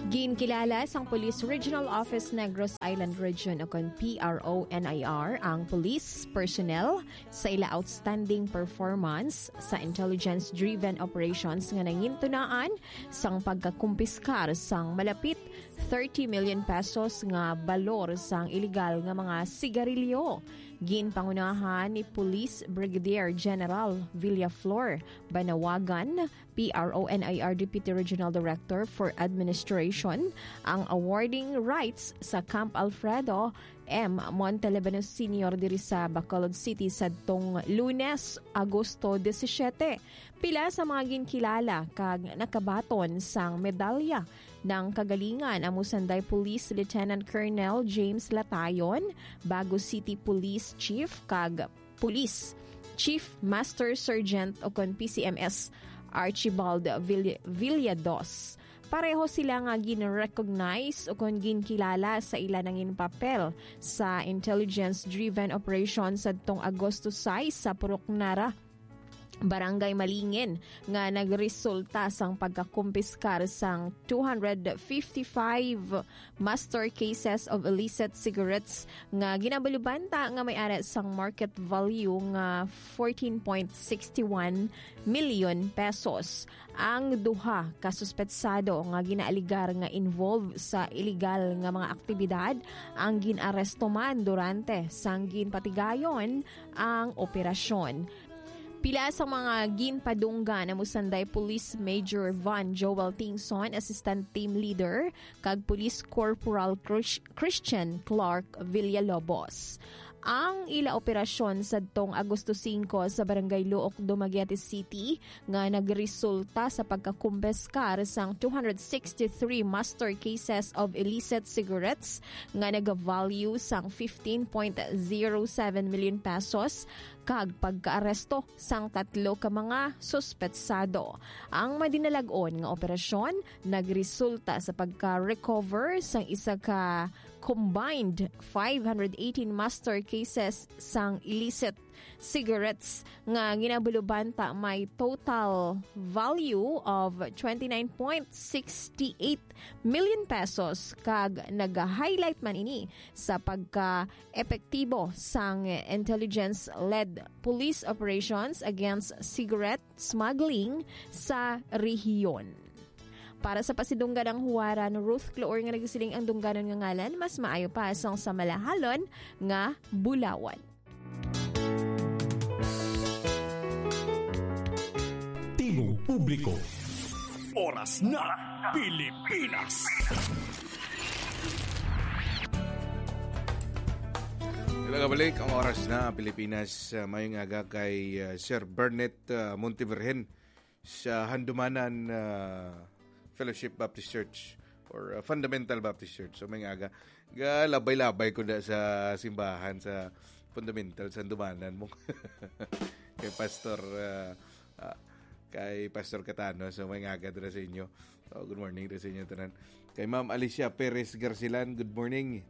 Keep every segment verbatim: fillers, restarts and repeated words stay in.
Ginkilala sang Police Regional Office Negros Island Region, o kon P R O N I R, ang police personnel sa ila outstanding performance sa intelligence-driven operations nga nangintunaan sang pagkakumpiskar sang malapit thirty million pesos nga balor sang iligal nga mga sigarilyo. Ginpangunahan ni Police Brigadier General Villaflor Banawagan, P R O N I R Deputy Regional Director for Administration, ang awarding rights sa Camp Alfredo M. Montelebanos Senior diri sa Bacolod City sadtong Lunes, Agosto disisiete. Pila sa mga ginkilala kag nakabaton sang medalya ng kagalingan amo sanday Police Lieutenant Colonel James Latayon, Bago City Police Chief, kag Police Chief Master Sergeant o kon P C M S Archibald Vill-, Villados. Pareho sila nga gin-recognize o kon ginkilala sa ila nangin papel sa intelligence-driven operation sadtong Agosto sais sa Purok Nara, Barangay Malingin, nga nagresulta sang pagkakumpiskar sang two hundred fifty-five master cases of illicit cigarettes nga ginabalubanta nga may ara sang market value nga fourteen point six one million pesos. Ang duha ka suspetsado nga ginaaligar nga involved sa iligal nga mga aktibidad ang gin-aresto man durante sang ginpatigayon ang operasyon. Pila sa mga ginpadunggan amo sanday Police Major Von Joel Tingson, Assistant Team Leader, kag Police Corporal Chris-, Christian Clark Villalobos. Ang ila operasyon sadtong Agosto singko sa Barangay Luok, Dumaguete City, nga nagresulta sa pagkakumpiskar sang two hundred sixty-three master cases of illicit cigarettes nga nag-value sang fifteen point zero seven million pesos kag pagkaaresto sang tatlo ka mga suspetsado. Ang madinalag-on nga operasyon nagresulta sa pagka-recover sang isa ka combined five hundred eighteen master cases sang illicit cigarettes nga ginabalubanta may total value of twenty-nine point six eight million pesos, kag nag-highlight man ini sa pagka-epektibo sang intelligence-led police operations against cigarette smuggling sa rehiyon. Para sa pasidunggan ang huwaran, Ruth Cloor nga nagsiling ang dungganon nga ngalan, mas maayo pa sang sa malahalon nga bulawan. Tingog Publiko. Oras na, Pilipinas. Wala ka balik ang oras na Pilipinas. Uh, mayong aga kay uh, Sir Burnett uh, Montevirgen sa Handumanan uh, Fellowship Baptist Church or uh, Fundamental Baptist Church. So, mayong aga. Galabay-labay ko na sa simbahan sa Fundamental sa Handumanan mo. Kay Pastor uh, uh, kay Pastor Catano. So, mayong aga dira sa inyo. Oh, good morning dira sa inyo tanan. Kay Ma'am Alicia Perez Garcilan, good morning.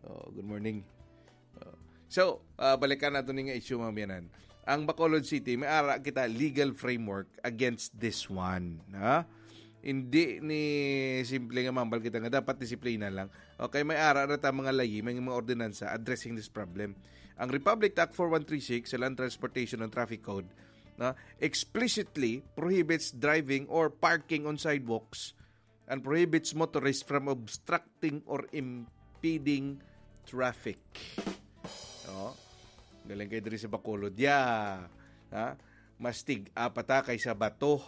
Oh, good morning. Oh. So, uh, balikan nato ni nga issue, mga biyanan. Ang Bacolod City, may ara kita legal framework against this one. Ha? Hindi ni simple nga mambal kita nga dapat disiplina lang. Okay, may ara na ta mga layi, may mga ordinansa addressing this problem. Ang Republic Act four one three six sa Land Transportation and Traffic Code na explicitly prohibits driving or parking on sidewalks and prohibits motorists from obstructing or impeding traffic. Oh, galing kayo diri sa Bacolod. Yeah. Ha? Mas tig-apa ta kaysa bato.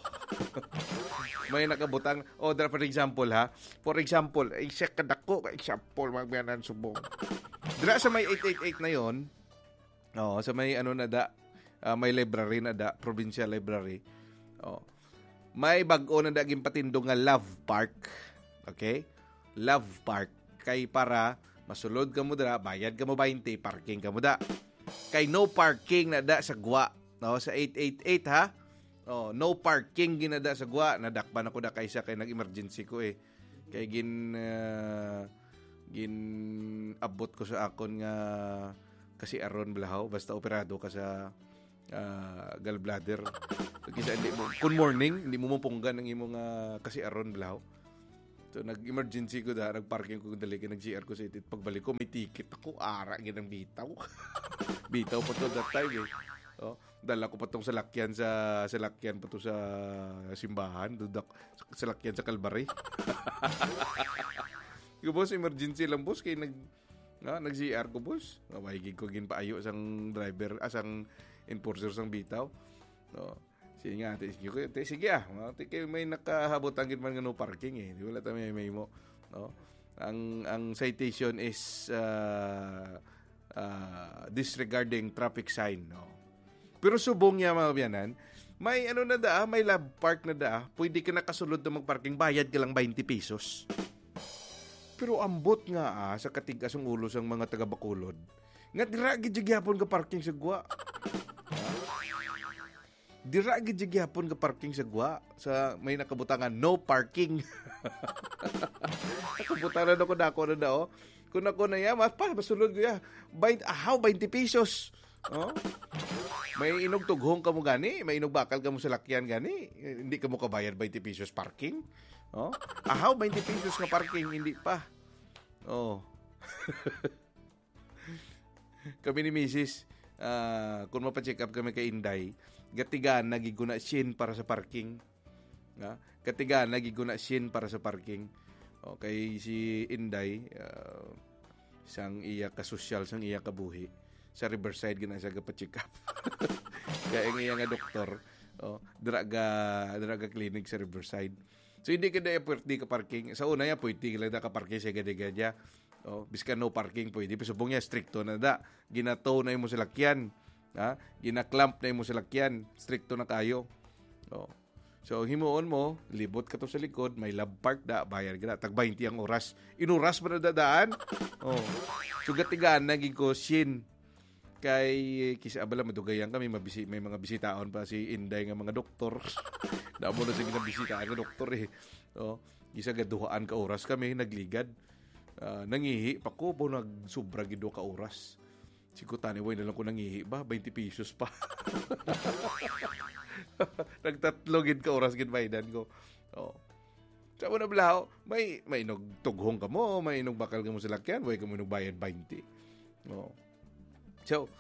May nakabutang. O, dira, for example, ha? For example, ay siya kadako, example, magbiyanan subong. Dira sa may eight eight eight na yon, oh, sa may ano na da, ah, may library na da, provincial library. Oh. May bag-o na da ginpatindog nga Love Park. Okay? Love Park. Kay para masulod ka mo dira, bayad ka mo twenty, parking ka mo da. Kay no parking na da sa gwa, no, sa eight eight eight, ha. Oh, no parking ginada sa gwa. Nadakpan ako da kaysa kay nag-emergency ko eh. Kay gin ah, gin-abot ko sa akon nga kasiaron balahaw basta operado ka sa ah, gallbladder. Kisa hindi mo, kun morning, hindi mo mapunggan ang imo nga kasiaron balahaw. So, nag-emergency ko da, nag-parking ko dali, kay nag-C R ko sa itit. Pagbalik ko, may ticket ako, ara gid ang bitaw. Bitaw pa to that time, eh. Oh, dala ko pa tong salakyan sa, salakyan pa to sa simbahan, dudak, salakyan sa Calvary. Yung boss, emergency lang, boss, kay nag, na, nag-C R ko, boss. Maway gid ko ginpaayo sang driver, ah, sang enforcer sang bitaw. No. Sige nga, ate, sige, ko, ate, sige, ah. Mga ate, kay may nakahabot ang gid man nga no parking, eh. Di wala ta may, may mo, no? Ang, ang citation is, ah, ah, disregarding traffic sign, no? Pero subong niya, mga biyanan, may ano na da, may love park na da. Pwede ka nakasulod na magparking, bayad ka lang twenty pesos. Pero ambot nga, ah, sa katigas ang ulo sang mga taga Bacolod, nga dira gid gyapon ka parking sa gwa. Dira gid gyapon ka parking sa gwa, sa may nakabutangan, "No parking." Nakabutangan ako, dako na daw. Kung ako na ya, mas pa, masulod ko ya. Bain-, ahaw, twenty pesos. Oh? May inog tughong ka mo gani, may inog bakal ka mo sa lakyan gani, hindi ka mo kabayad twenty pesos parking. Oh? Ahaw, twenty pesos nga parking, hindi pa. Oh. Kami ni misis, ah, kung mapa-check up kami kay Inday, gatigaan na gid ko na shin para sa parking. Ha? Gatigaan na gid ko na shin para sa parking. Okay, si Inday, ah, sang iya kasosyal, sang iya kabuhi, sa Riverside gina siya gapa-check up. Kaya ang iya nga doktor, oh, dira ga, dira ga clinic sa Riverside. So, hindi ka na pwerte ka parking. Sa una niya, pwerte lang na ka parking sa gadi-gadi. Oh, biskan no parking, pwede. Pero subong niya, stricto na da. Ginato na imo salakyan. Ha? Ginaklamp na imo salakyan. Stricto na kayo. Oh. So, ang himuon mo, libot ka to sa likod, may love park da, bayad ka na. Tag twenty ang oras. Inuras mo na dadaan? Oh. So, gatigaan na gid ko, shin. Kay, kisa abala, madugayan kami, mabisi-, may mga bisitaon pa si Inday nga mga doktor. Damo na sige nabisitaan nga doktor, eh. Oh, isa gaduhaan ka oras kami, nagligad. Ah, nangihi pa ko po, nagsubra gid ka oras. Si Kutani, way na lang ko nangihi ba? Twenty pesos pa. Nagtatlo gid ka oras gid baydan ko. Oh. Sa mo na blaho, may, may inog tughong ka mo, may inog bakal ka mo sa lakyan, way ka mo inog bayad twenty. Oh. So,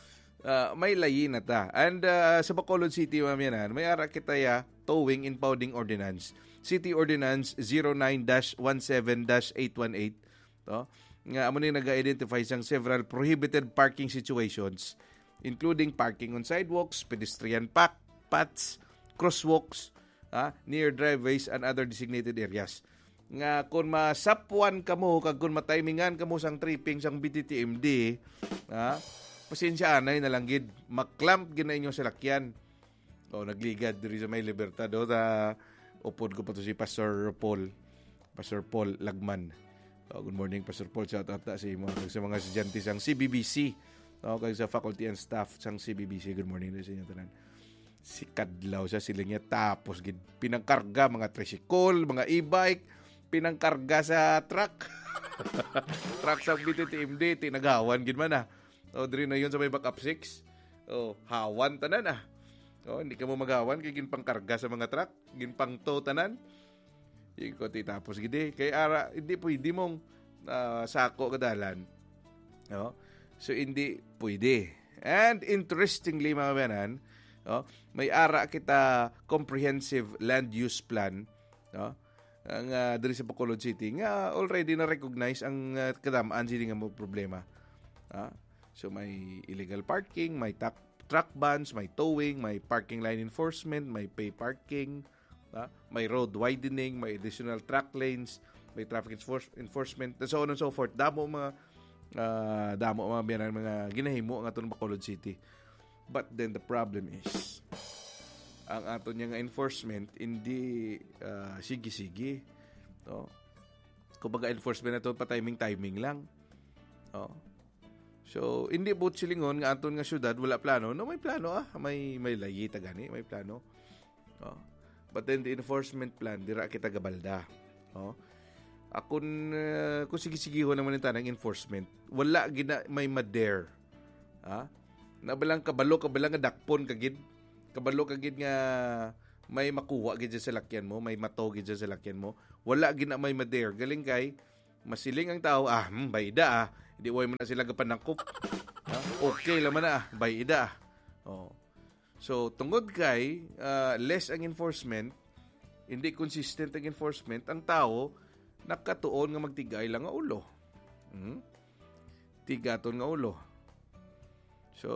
ah, may layi na ta. And, ah, sa Bacolod City, mamiyanan, may ara kita ya, towing impounding ordinance. City Ordinance zero nine dash one seven dash eight one eight. To, nga amo ni naga-identify sang several prohibited parking situations, including parking on sidewalks, pedestrian pa-, paths, crosswalks, ah, near driveways and other designated areas. Nga kung masapwan kamo kag kung matimingan kamo sang tripping sang B T T M D, ah, pasensya anay na lang gid, maklamp gid na inyo salakyan. Oh, nagligad diri sa may Libertad, oh, ta upod ko pa to si Pastor Paul. Pastor Paul Lagman. Oh, good morning, Pastor Paul. Shout out na sa imo, kag sa mga estudyante sang C B B C. Oh, kag sa faculty and staff sang C B B C. Good morning na sa inyo tanan. Si Kadlaw sa siling niya, tapos gid pinangkarga mga tricycle, mga e-bike, pinangkarga sa truck. Truck sa B T T M D, tinagawan gid man, ah. O, diri na yun sa may backup six. O, hawan tanan, ah. O, hindi ka mo magawan kay ginpangkarga sa mga truck, ginpangto tanan. Yung ko, tapos gidi. Kay ara, hindi pwede mong, ah, sako ka dalan. No? So, hindi pwede. And interestingly, mga bayanan, no, may ara kita comprehensive land use plan, no? Ang, ah, diri sa Bacolod City nga already na-recognize ang, ah, kadam-an sini nga mga problema. Ah, so may illegal parking, may tak-, truck bans, may towing, may parking line enforcement, may pay parking, ah, may road widening, may additional truck lanes, may traffic enforce-, enforcement, and so on and so forth. Damo mga, ah, damo mga biyanan, mga ginahimo ang atong Bacolod City. But then the problem is, ang ato niya nga enforcement, hindi, ah, sige-sige. No? Kumbaga, enforcement nato pa timing-timing lang. No? So, hindi buot silingon nga aton nga syudad wala plano. No, may plano, ah. May, may layi ta gani, may plano. No? But then the enforcement plan, dira kita gabalda. No? Akon, ah, kung sige-sigihon naman yung tanang enforcement, wala gina may ma-dare. Ha? Nabalang kabalo, kabalang nga dakpon ka gid. Kabalo ka gid nga may makuha gid sa salakyan mo, may mato gid sa salakyan mo. Wala gid na may ma-dare. Galing kay, masiling ang tao, "Ah, hmm, bayda ah. Di way man na sila gapanakop. Ha? Okay lang man na ah, bayda ah." Oh. So, tungod kay, ah, less ang enforcement, hindi consistent ang enforcement, ang tao nakatuon nga magtigay lang nga ulo. Hmm? Tigaton nga ulo. So,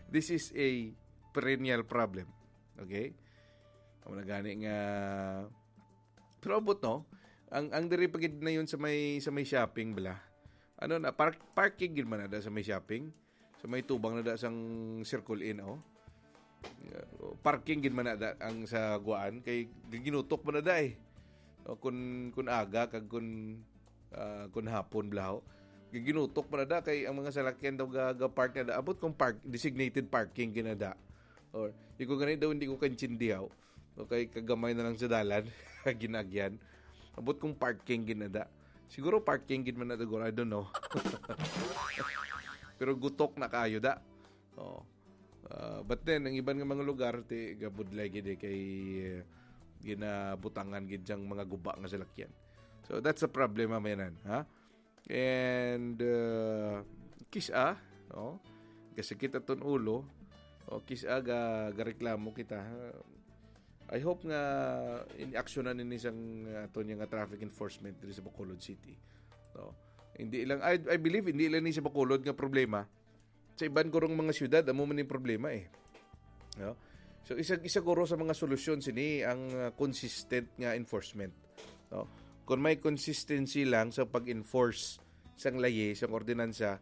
this is a perennial problem. Okay? Amo na gani nga, pero abot, no? Ang, ang diri pa gid na yun sa may, sa may shopping, bala. Ano na, park, parking gid man na da sa may shopping. Sa may tubang na da sang Circle Inn, oh. Parking gid man na da ang sa guwaan. Kay giginutok man na da eh. O, kun, kun aga, kag kun, ah, kun hapon, blaho. Giginutok man na da, kay ang mga salakyan daw ga, ga park na da. Abot kung park, designated parking gid na da. Or, di ko gani daw, hindi ko kaintindihan. Okay, kagamay na lang sa dalan, ginagyan. Abot kung parking gid na da. Siguro parking gid man na da, I don't know. Pero gutok na kayo da. Oh. Ah, but then, ang iban nga mga lugar, ti, gabudlay gid eh, kay, eh, ginabutangan gid sang mga guba nga salakyan. So, that's a problema, mayanan, ha? And, uh, kis-a, no? Kasakit aton ulo, o kis-a ga, gareklamo kita. I hope nga in-actionan ini sang aton nga traffic enforcement diri sa Bacolod City. No? Hindi lang, I, I believe, hindi lang ni sa Bacolod nga problema. Sa iban kurong mga syudad, amo man yung problema eh. No? So, isa, isa guro sa mga solusyon sini ang, uh, consistent nga enforcement. No? Kung may consistency lang sa pag-enforce sang layi, sang ordinansa,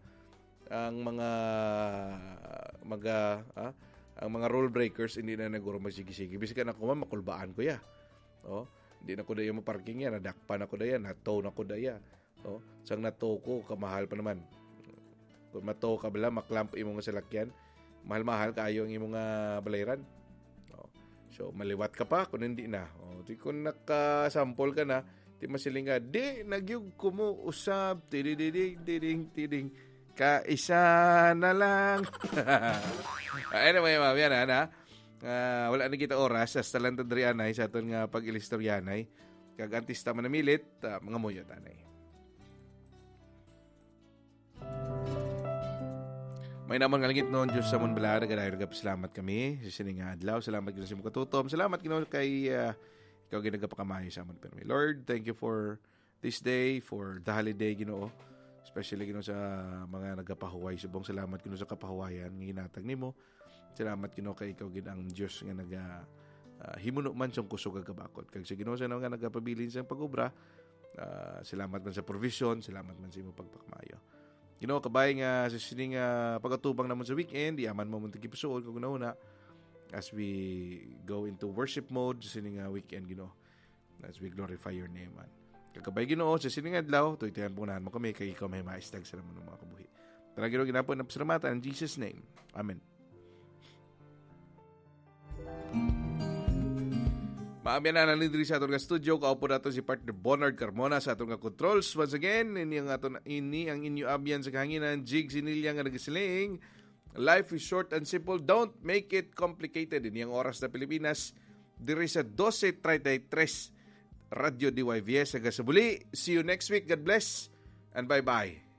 ang mga, mga, ah, ang mga rule breakers, hindi na naguro magsige-sige. Bisag ako man, makulbaan ko ya. Oh, hindi na ko daya maparking yan, nadakpan ako daya, natow na ko daya. Oh, sang natow ko, kamahal pa naman. Kung matow ka bala, maklamp imo nga salakyan, mahal-mahal kaayo ang imo nga balayran. Oh, so, maliwat ka pa kung hindi na. Oh, di kung nakasampol ka na, di masiling ka, "Di, nagyug ko mo usab, tidididing, tiding, tiding. Kaisa na lang." Anyway, ma'am, yan, ha, na. Ah, wala na kita oras. Hasta lang ta diri, anay, sa aton nga pag-ilistoryanay. Kag artista manamilit, ah, mga muyo, tanay. May naman nga langit, no, Diyos sa amon bala, nagadayon nagapasalamat kami sa sini nga adlaw. Salamat, Ginoo, sa imong katutom. Salamat, Ginoo, kay, ah, ikaw ginagapakamayo sa amon, pero, Lord, thank you for this day, for the holiday, Ginoo. Especially, Ginoo, sa mga nagapahuway subong. Salamat, Ginoo, sa kapahuwayan nga ginatag nimo. Salamat, Ginoo, kay ikaw gid ang Dios nga naga, ah, himuno man sang kusog kag kabakod. Kag sa Ginoo sa nga nagapabilin sang pag-obra, ah, salamat man sa provision, salamat man sa imo pagpakamayo. Ginoo, kabay nga sa sini nga pag-atubang namon sa weekend, yaman mo mong tagipusoon kag una-una as we go into worship mode sa sini nga weekend, Ginoo. As we glorify your name, man. Kag kabay, Ginoo, sa sini nga adlaw, tuytuyan po mo kami, kay ikaw may maistag sa amon mga kabuhi. Tara, Ginoo, ginapon ang pasalamatan in Jesus' name. Amen. Maabyan na lang diri sa aton nga studio. Kaupo nato si partner Bonard Carmona sa aton nga controls. Once again, ini ang aton, ini ang inyo abyan sa kahanginan, Jig Sinilya nga nagasiling, "Life is short and simple. Don't make it complicated." Ini ang oras na Pilipinas, diri sa dose treinta y tres, Radyo D Y V S. Hanggang sa muli, see you next week. God bless and bye-bye.